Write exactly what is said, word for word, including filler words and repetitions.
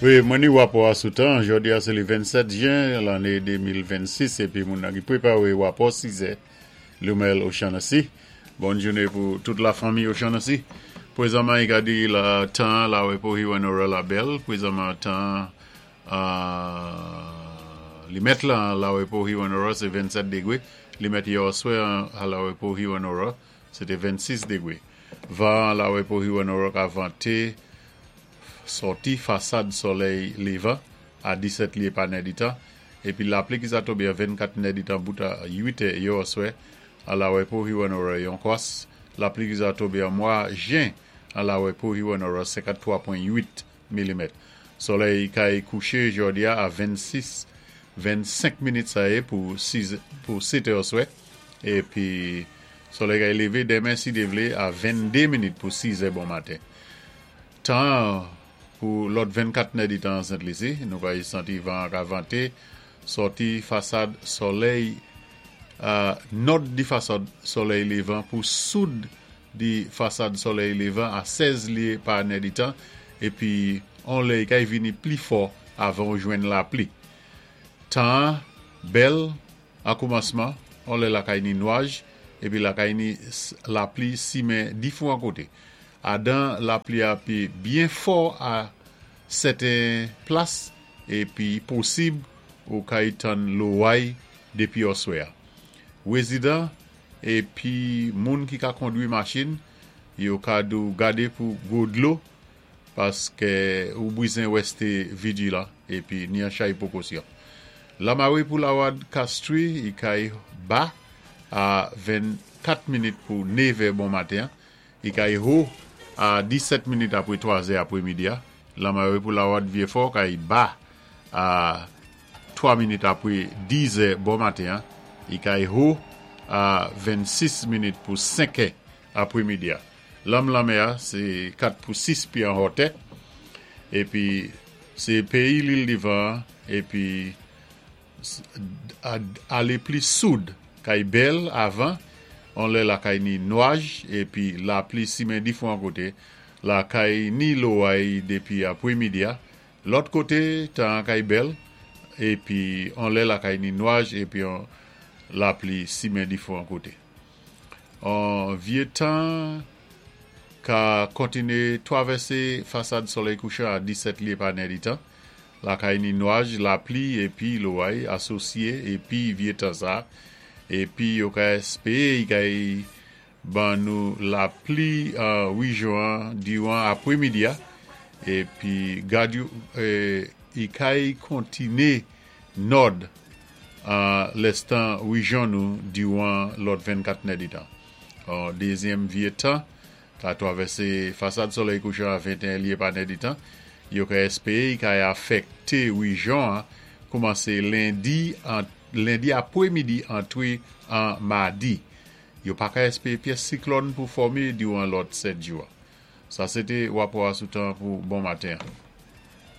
Wi, mwen ni wapò a sou tan, jòdi a sé li vennsèt jen lanné de mil vennsis épi moun ki pwépawé wapò sizè, Lumel O'Shaughnessy. Bon jouné pou tout la fanmi O'Shaughnessy. Pwézanman, i ka di la tan la wé pou Hewanorra la bèl. Pwézanman tan euh, li mèt la la wé pou Hewanorra sé vennsèt dégwé. Li mèt yè oswè a la wé pou Hewanorra, sété vennsis dégwé. Van la wé pou Hewanorra ka vanté sòti fasad solèy lévan a disèt lyé pa nèditan. Épi lapli ki sa tonbé a vennkat nèditan bout a uit è yè oswè a la wé pou Hewanorra yon kwas. Lapli ki sa tonbé an mwa jen a la wé pou Hewanorra senkanntwa pwen uit milimèt. Solèy kay kouché jòdi a a vennsis vennsenk minit sa yé pou sis pou sèt è oswè. Épi solèy kay lévé denmen si Dye vlé a vennde minit pou siz è bon maten. Tan pou lòt vennkat nèditan Sent Lisi, nou kay santi van ka vanté sòti fasad solèy euh, nòd di fasad solèy lévan pou soud di fasad solèy lévan a sèz lyé pa nèditan épi on lè kay vini pli fò avan ou jwenn lapli. Tan bèl an koumansman, on lè lakay ni nwaj épi lakay ni lapli simen difwan koté. Adan lapli a pi byen fò a sèten plas épi posib ou kay tann loway dépi oswè. Wézidan épi moun ki ka kondwi machin, yo ka dou gadé pou gwo dlo paské ou bwizen wèsté vijilan épi ni an chay pwékosyon. Lamawé pou lawad Castries, i kay ba a vennkat minit pou nevè bon maten. I kay wo a disèt minit apwé twazè apwé midi. Lamawé pou lawad Vieux-Fort kay ba a twa minit apwé dizè bon maten. I kay wo a vennsis minit pou senkè apwé midi. Lanm lanmè sé kat pou sis pyé an wotè. Épi sé péyi Lil Divan épi alé pli soud kay bèl avan on lè lakay ni nwaj épi lapli simen difwan koté lakay ni loway dépi apwé midi. Lòt koté tan kay bèl épi on lè lakay ni nwaj épi on lapli simen difwan koté. An vyé tan ka kontiné twavèsé fasad solèy kouchan a disèt lyé pa nèditan. Lakay ni nwaj, lapli épi loway asosyé épi vyé tan sa. Épi yo ka èspéwé kay ban nou lapli an wijwan diwan apwé midi épi gad i kay kontiné nòd an lèstan wijyon nou diwan lòt vennkat nèditan. An dézyèm vyé tan ka twavèsé fasad solèy kouchan a venteyen lyé pa nèditan. Yo ka èspéwé kay afèkté wijyon koumansé lendi an lendi apwé midi antwé an madi. Yo pa ka èspéwé pyès siklòn pou fòmé diwan lòt sèt jou. Sa sété wapò a sou tan pou bon maten.